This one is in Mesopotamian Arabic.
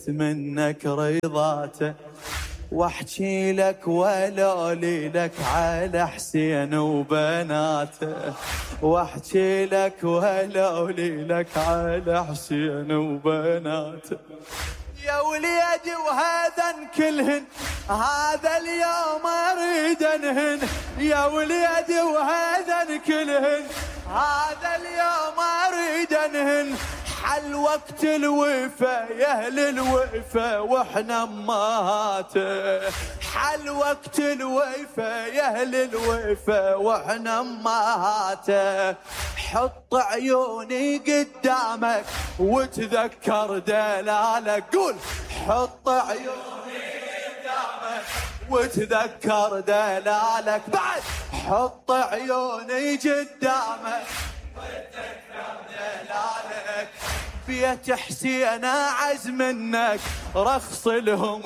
منك رضاته، واحكي لك ولولي لك على حسين وبناته، واحكي لك ولولي لك على حسين وبناته. يا وليدي وهذا كلهن هذا اليوم اريد انهن، يا وليدي وهذا كلهن هذا اليوم اريد انهن. حل وقت الوفا يا اهل الوفا واحنا امهاته، حل وقت الوفا يا اهل الوفا واحنا امهاته. حط عيوني قدامك وتذكر دلالك، قول حط عيوني قدامك وتذكر دلالك، بعد حط عيوني قدامك وتذكر دلالك. بيت حسين اعز منك رخص لهم